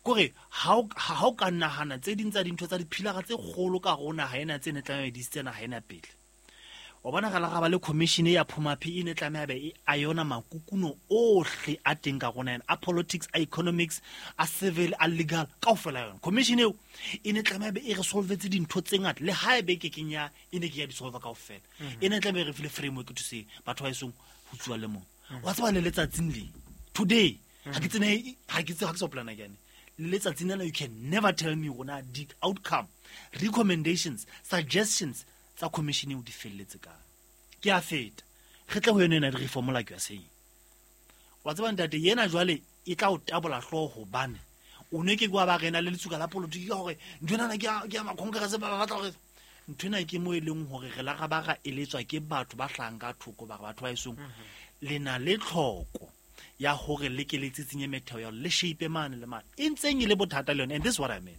Kore ha o ka nahana tse ding tsa dintho tsa diphilara tse kgolo ka hare ho naha ena tse ne tlameha di isitse naha ena pele. Wa bona re la ra ba le commission ya Phumaphi e ne tlameha be e a yona makukuno ohle a teng ka rona ena, a politics, a economics, a civil, a legal, kaofela yona. Commission eo e ne tlameha be e re solvetse dintho tse ngata, le ha ebe ke keng ya e ne ke ya di solve kaofela. E ne tlameha e re file framework to say batho ba esong ho tsuwa le mong. Wa tseba le letsatsing le today ha ke tsene ha ke tsebe ha ke sa plana ke ane le letsatsing lena, you can never tell me rona di outcome, recommendations, suggestions tsa commission eo di felletse kae. Ke a feta re tle ho yona ena di-reform like you are saying. Wa tseba ntate yena jwale e tla o tabola hlooho hobane o ne ke kwa ba rena le letsuka la politiki ka hore ntho ena ke ya ma-congress ba batla hore ntho ena ke mo e leng hore re la ra ba ra eletswa ke batho ba hlahang ka thoko ba re batho ba esong le na le tlhoko ya hore le ke le tsitsinye metheo ya le shape mane le mane e ntseng e le bothata le yone. And this is what I mean.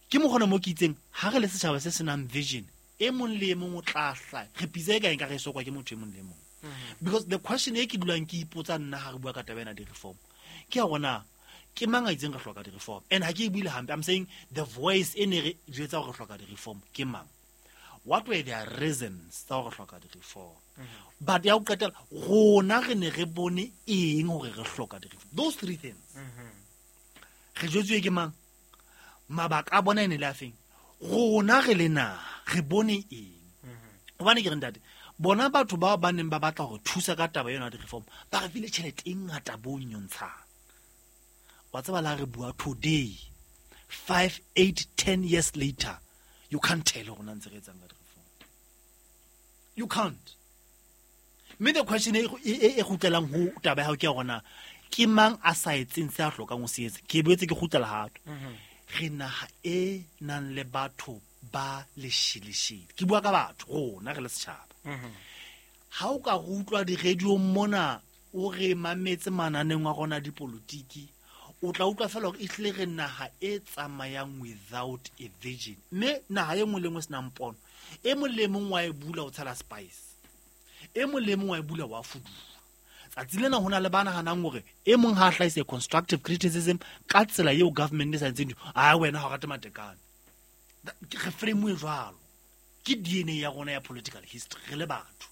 Ke mokgona mo ke itseng ha re le setjhaba se senang vision, e mong le e mong o tla hlaha re pitsa e ka eng ka re e sokwa ke motho e mong le e mong. Because the question e ke dulang ke ipotsa nna ha re bua ka taba ena di-reform ke ya hore na ke mang a itseng re hloka di-reform, and ha ke e buile hampe, I'm saying the voice e ne re jwetsa hore re hloka di-reform ke mang, what were their reasons tsa hore re hloka di-reform, but ya ho qetela rona re ne re bone eng hore re hloka di-reform. Those three things re jwetsuwe ke mang, mabaka a bona e ne le a feng, rona re le naha re bone eng. Hobane ke re ntate, bona batho bao ba neng ba batla hore thusa ka taba ena ya di-reform ba re file tjhelete e ngata bo nyontshang. Wa tseba la re bua today 5 8 10 years later, you can't tell hore na ntse re etsang ka di-reform. You can't. Mme the question e kgutlelang ho taba ya hao ke ya hore na ke mang a sa etseng se a hlokang ho se etsa. Ke boetse ke kgutlela hape. Re naha e nang le batho ba lesheleshele. Ke bua ka batho rona re le setjhaba. Ha o ka re utlwa di-radio mona o re mametse mananeng wa rona dipolotiki, o tla utlwa fela hore ehlile re naha e tsamayang without a vision. Mme naha e nngwe le nngwe e senang pono, e mong le mong wa e bula o tshela spice, e mong le mong wa e bula wa fuduwa. Tsatsi lena ho na le ba nahanang hore e mong ha a hlahisa constructive criticism ka tsela eo government e sa entseng dintho, a wena ha o rate matekane. Re frame-uwe jwalo. Ke DNA ya rona ya political history re le batho.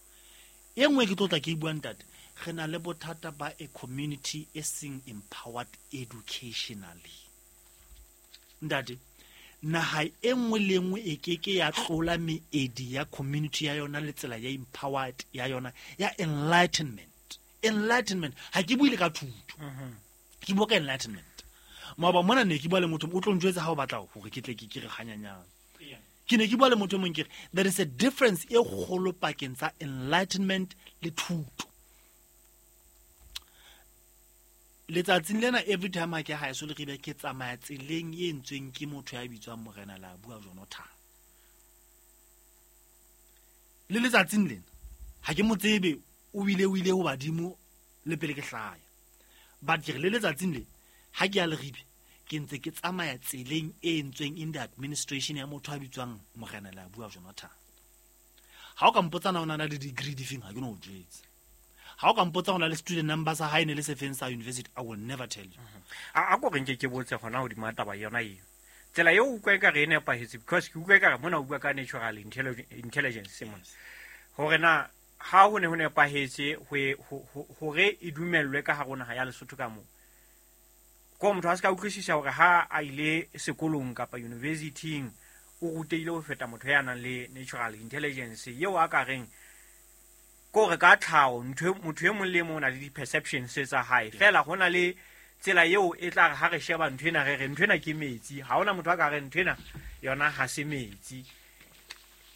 E nngwe ke tlo tla ke e bua ntate, re na le bothata ba a community e seng empowered educationally. Ntate, naha e nngwe le nngwe e ke ke ya tlola meedi ya community ya yona le tsela ya empowered ya yona ya enlightenment. Enlightenment ha ke bue le ka thuto. Ke bua ka enlightenment. Maoba mona ne ke bua le motho o tlo njwetsa ha o batla hore ke tle ke re hanyanyana. Ke ne ke bua le motho e mong ke re there is a difference e kgolo pakeng tsa enlightenment le thuto. Letsatsing lena every time ha ke ha eso le ribe ke tsamaya tseleng e entsweng ke motho ya bitswang Morena la bua Jonathan. Le letsatsing lena ha ke mo tsebe, o bile o ile ho badimo le pele ke hlaya. But ke re le letsatsing le ha ke ya Leribe ke ntse ke tsamaya tseleng e entsweng in the administration ya motho a bitswang Morena la bua Jonathan. Ha o ka mpotsa na o na le degree difeng, ha ke no o jwetsa. Ha o ka mpotsa ho na le student number sa hae ne le sefeng sa university, I will never tell you. A ko re nke ke botse hona hodima taba yona eo. Tsela eo o utlwa ekare e nepahetse, because ke utlwa ekare mona o bua ka natural intelligence mona. Hore na ha ho ne ho nepahetse hore e dumellwe ka hare ho naha ya Lesotho ka moo. Ko motho a se ka utlwisisa hore ha a ile sekolong kapa university-ing o rutehile ho feta motho ya nang le natural intelligence eo a ka reng ko re ka tlhaho motho e mong le e mong o na le di-perceptions tsa hae. Feela ho na le tsela eo e tla re ha re sheba ntho ena re re ntho ena ke metsi, ha hona motho a ka re ntho ena yona ha se metsi,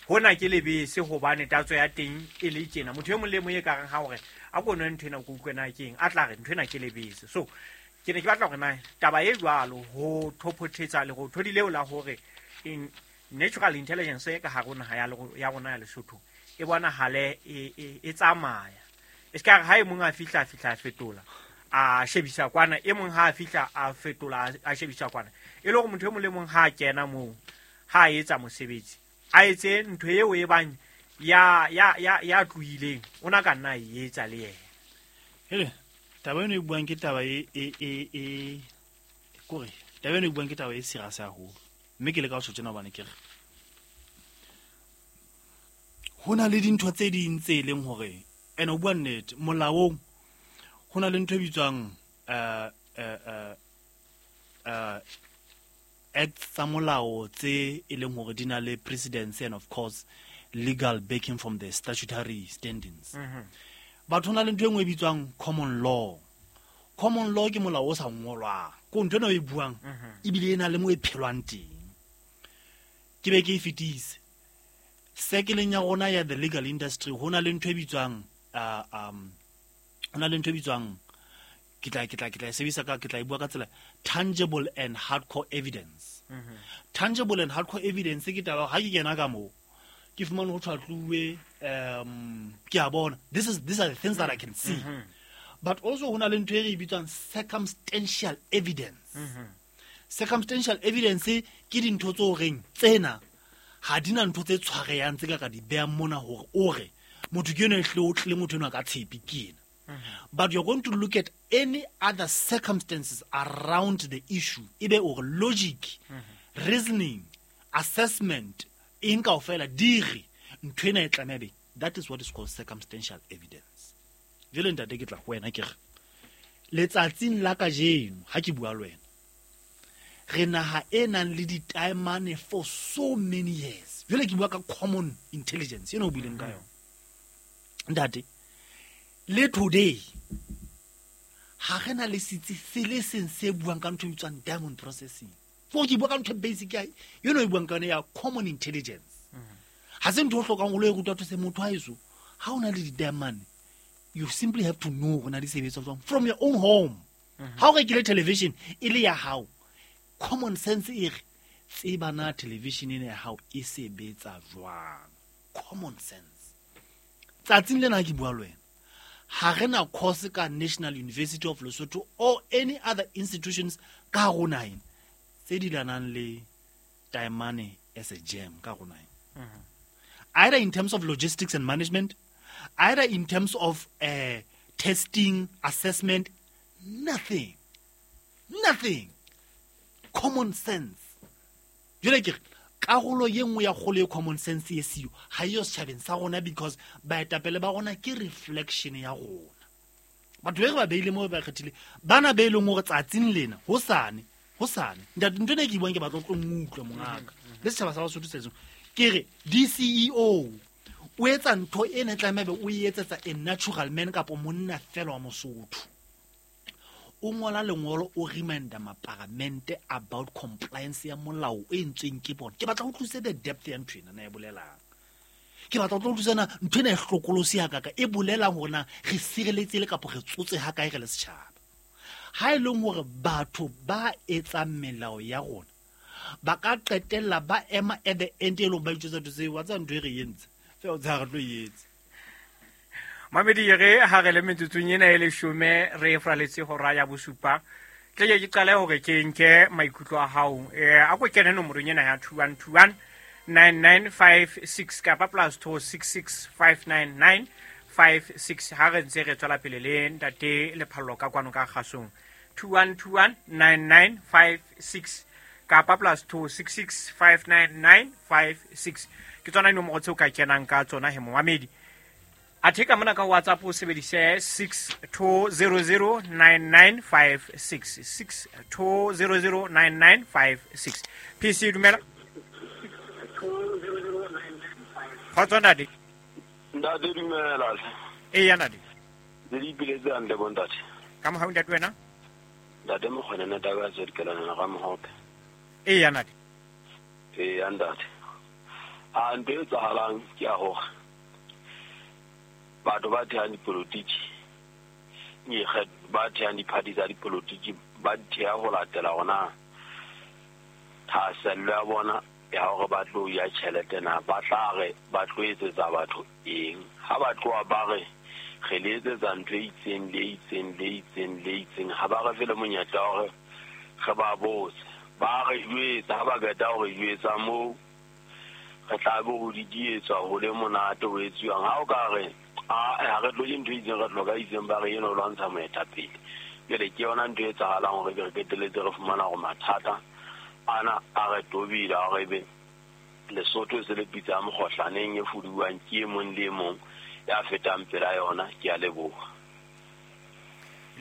hona ke lebese hobane tatso ya teng e le tjena. Motho e mong le e mong e ka reng ha hore a ko nwe ntho ena ko utlwe na ke eng, a tla re ntho ena ke lebese. So ke ne ke batla hore na taba e jwalo ho thophothetsa lerothodi leo la hore in natural intelligence e ka hare ho naha ya rona ya Lesotho e bonahale e tsamaya. E se ka re ha e mong a fihla, a fihla a fetola, a shebisa kwana, e mong ha a fihla a fetola, a shebisa kwana. E le hore motho e mong le mong ha a kena moo, ha a etsa mosebetsi, a etse ntho eo e bang ya tlohileng, o na ka nna a e etsa le yena. Hele, taba eno e buang ke taba e Kore taba eno e buang ke taba e serious haholo. Mme ke le ka ho tjho tjena hobane ke re ho na le dintho tse ding tse e leng hore ene o bua nnete molaong ho na le ntho e bitswang acts tsa molao tse e leng hore di na le precedence and of course legal backing from the statutory standings. Batho ho na le ntho e nngwe e bitswang common law. Common law ke molao o sa ngolwang, ko ntho ena o e buang ebile e na le mo e phelwang teng. Ke be ke e fetise sekeleng ya rona ya the legal industry. Ho na le ntho e bitswang ho na le ntho e bitswang, ke tla e sebedisa ka, ke tla e bua ka tsela tangible and hardcore evidence. Tangible and hardcore evidence ke taba ha ke kena ka moo ke fumane ho tshwatluwe, ke a bona, this is these are the things that I can see. But also ho na le ntho e re e bitswang circumstantial evidence. Circumstantial evidence ke dintho tse o reng tsena ha di na ntho tse tshwareyang tse ka di behang mona hore o re motho ke eno e hle o tlile, motho enwa ka tshepe ke ena. But you're going to look at any other circumstances around the issue, ebe o re logic, reasoning, assessment, eng kaofela di re ntho ena e tlameha be. That is what is called circumstantial evidence. Jwale ntate, ke tla ho wena ke re letsatsing la kajeno ha ke bua le wena, re naha e nang le ditaemane for so many years. Jwale ke bua ka common intelligence eno o buileng ka yona, ntate. Le today ha re na le setsi se le seng se buang ka ntho e bitswang diamond processing. Fo ke bua ka ntho e basic ya eno e buang ka yona ya common intelligence. Ha se ntho o hlokang o lo e rutwa those motho haeso. Ha o na le di-diamond, you simply have to know hore na di sebetsa jwang from your own home. Ha o rekile television e le ya hao, common sense e re tseba na television ena ya hao e sebetsa jwang. Common sense. Tsatsing lena ha ke bua le wena, ha re na course ka National University of Lesotho or any other institutions ka hare ho naheng tse di lanang le taemane as a gem ka hare ho naheng, either in terms of logistics and management, either in terms of testing, assessment, nothing, nothing. Common sense. Jwale ke re karolo ye nngwe ya kgolo e common sense e siyo ha eyo setjhabeng sa rona, because baetapele ba rona ke reflection ya rona. Batho be re ba beile moo, ba kgethile bana be e leng hore tsatsing lena hosane hosane. Ntate, ntho ena e ke e buang, ke batla o tlo nkutlwe mongaka le setjhaba sa Basotho se seng. Ke re DCEO o etsa ntho ena e tlameha be o e etsetsa a natural man kapa monna fela wa Mosotho. O ngola lengolo, o reminda maparamente about compliance ya molao o entsweng ke bona. Ke batla ho utlwisise the depth ya ntho ena na e bolelang. Ke batla ho tlo utlwisisa na ntho ena e hlokolosi hakaka e bolelang hore na re sireletsehile kapa re tsotse hakae re le setjhaba. Ha e leng hore batho ba etsang melao ya rona ba ka qetella ba ema at the end e leng ba itjwetsa ntho tseo wa tseba ntho e re entse fela o tseba re tlo e etsa. Mamedi, re ha re le metsotsong ena e 10 re fraletse hora ya 7. Tle ke qale hore ke nke maikutlo a hao. A ko kene nomorong ena ya 2121 9956 kapa +266 599 56 ha re ntse re tswela pele le ntate Lephallo ka kwano ka kgasong. 2121 9956 kapa +266 599 56 ke tsona dinomoro tseo ka kenang ka tsona he momamedi. Athe ka mona ka WhatsApp o sebedise 62009956, 62009956. PC, dumela. Kgotso ntate. Ntate, dumela. Eya ntate. Le di ipiletse hantle bo ntate? Ka mohau ntate, wena? Ntate Mokgwene, taba ya tswedikelana ga Mohope. Eya ntate. Eya ntate, a ntho e etsahalang ke ya hore batho ba thehang dipolotiki, ba thehang di-party tsa dipolotiki, ba di theha ho latela hona thahasello ya bona ya hore ba tlo ya tjhelete na, ba tla re ba tlo etsetsa batho eng. Ha ba tloha ba re re le etsetsa ntho e itseng le itseng le itseng le itseng, ha ba re fe le monyetla wa hore re ba botse. Ba re jwetsa, ha ba qeta ho re jwetsa moo re tla be ho didietswa ho le monate ho etsuwang. Ha o ka re a ha re tlo ntho e itseng, re tlo ka itseng, ba re eno o lwantsha moetapele. Jwale ke yona ntho e etsahalang hore be re qetelletse re fumana hore mathata ana a re tobile, a re be Lesotho e se le pitsa ya mokgohlaneng e fuduwang ke e mong le e mong ya fetang pela yona. Ke a leboha.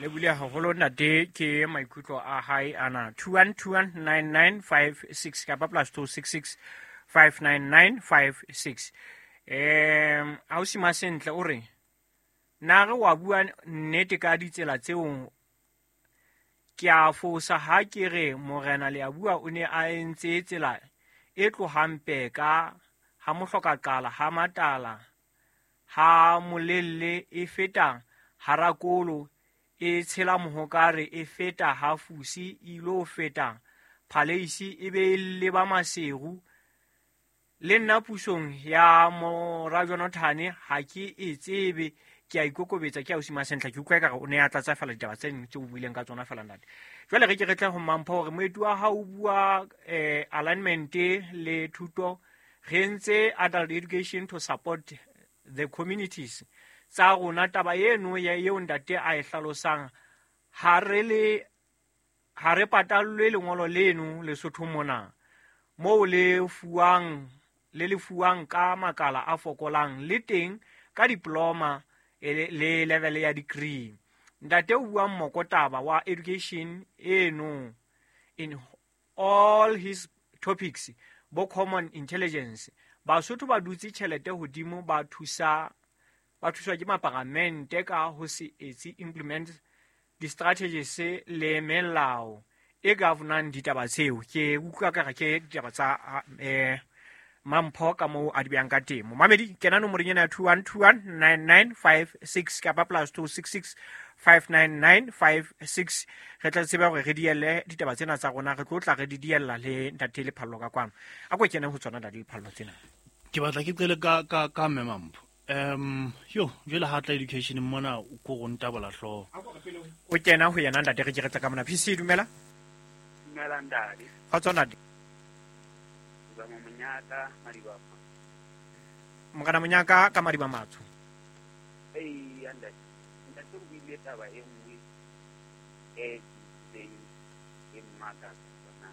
Le bule haholo ntate, ke maikutlo a hae ana. 21219956 kapa +266 59956. Ausi Masentle o re na re wa bua nnete ka ditsela tseo, ke a fosa ha ke re morena le a bua o ne a entse tsela e tlohang Peka ha mohloka qala ha Matala ha Molelle e feta Harakolo e tshela Mohokare e feta ha Fusi e ilo feta Phaleisi e be e leba Maseru. Le nna pusong ya mora Jonathan ha ke e tsebe, ke a ikokobetsa, ke ausi Masentle. Ke utlwa ekare o ne a tlatsa fela ditaba tse ding tse o buileng ka tsona fela ntate. Jwale re ke re tle ho Mampho hore moeti wa hao o bua alignment le thuto, re entse adult education to support the communities tsa rona. Taba eno eo ntate a e hlalosang, ha re patallwe lengolo leno Lesotho mona moo le fuwang le lefuwang ka makala a fokolang le teng ka diploma le level ya degree. Ntate o buang mokotaba wa education eno in all his topics bo common intelligence. Basotho ba dutse tjhelete hodimo, ba thuswa ke maparamente ka ho se etse implement di-strategies le melao e governang ditaba tseo. Ke utlwa ka re ke ditaba tsa Mampho ka moo a di behang ka teng. Momamedi, kena nomorong ena ya 21219956 kapa +266 59956. Re tla tseba hore re dielle ditaba tsena tsa rona, re tlo tla re di diella le ntate Lephallo ka kwano. A ko kene ho tsona ntate Lephallo tsena. Ke batla ke qele ka mme Mampho. Yo jwale ha tla education mona o ko go ntabola hlooho. O kena ho yena ntate, re ke re tla ka mona. PC dumela. Dumela ntate. Kgotso ntate. Monyaka Madiba. Morena Monyaka ka Madiba Matsho. Ee, ntate. Ntate o buile taba e nngwe e itseng e mmakatsa tsona.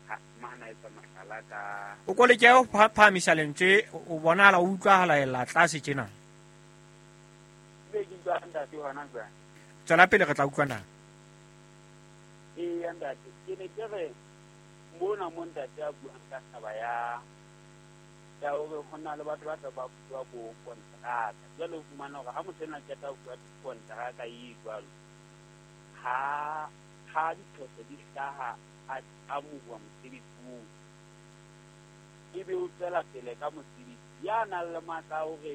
Ha mana etsa mohlala ka o ko leke ho phahamisa lentswe, o bonahala o utlwahala ela tlase tjena. Be ke utlwa ntate hona jwale. Tswela pele re tla utlwa na. Ee, ntate, ke ne ke re mona mo ntate a buang ka taba ya hore ho na le batho ba tla ba bua bo kontraka. Jwale o fumana hore ha motho ena qeta ho bua kontraka e jwalo, ha diphoso di hlaha a amohuwa mosebetsi oo, ebe o tswela pele ka mosebetsi. Ya nang le matla a hore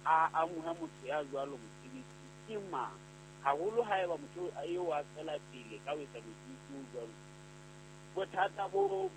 a amohe motho ya jwalo mosebetsi ke mang? Haholo haeba motho eo a tswela pele ka ho etsa mosebetsi o jwalo. Bothata bo